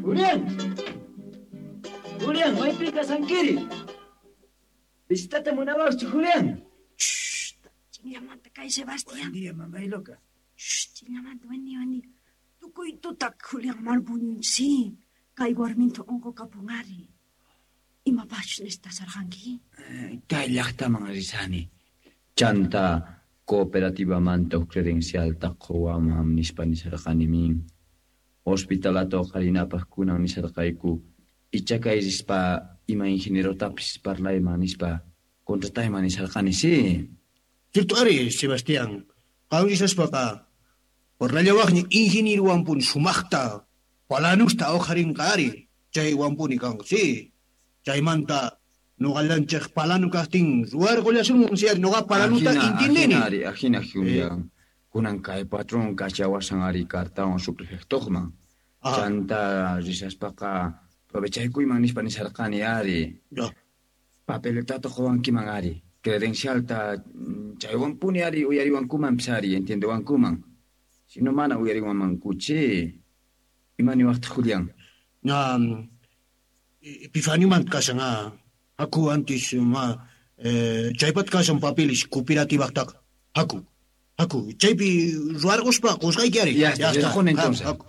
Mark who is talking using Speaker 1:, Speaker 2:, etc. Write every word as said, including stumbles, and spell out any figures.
Speaker 1: Julián. Julián, maypi kasankiri. Visitata munawaqchu, Julián.
Speaker 2: Chinllamanta kay Sebastián.
Speaker 1: Buen día, mamá y loca.
Speaker 2: Shh, chinllamanta, buen día, buen día. Tukuy tuta Julián mal sí. Kay warminta unqukapun ari. Imapaqchus necesitasarqanki?
Speaker 1: Kay llaqtaman risani. Chanta cooperativamanta huk credencialta quwaman nispa nisarqani min. Hospitalata uqarinapaq kunan nisarqayku. Icha kay rispa ima ingenierotapis parlayman nispa contratayman nisarqani, sí.
Speaker 3: Cierto ari, Sebastián. Qam risaspaqa parlallawaqña ingenierowanpuni sumaqta palanusta uqarinqa ari. Chaywanpuni kanqa, sí. Chaymanta nuqallanchik palanu kaqtin ruwarqullasunman si ari nuqa palanuta intindini.
Speaker 1: Ajina ari, ajina Julián. Kunan kay patrón kachawasan ari cartawan subprefectoqman. Chanta risaspaqa aprovechaykuyman nispa nisarqani ari.
Speaker 3: Ya.
Speaker 1: Papeletata quwankiman ari. Credencialta chaywanpuni ari uyariwankumanpis ari, entiendewankuman. Si no mana uyariwanmankuchi. Ima niwaqtaq, Julián?
Speaker 3: Ña Epifanioman kashan ah. Haku antes ma eh, chaypat kashan papeles cooperativaqtaqa. Haku. Haku, chaypi ruwarquspa qusqayki ari.
Speaker 1: Ya está, entonces. Haku.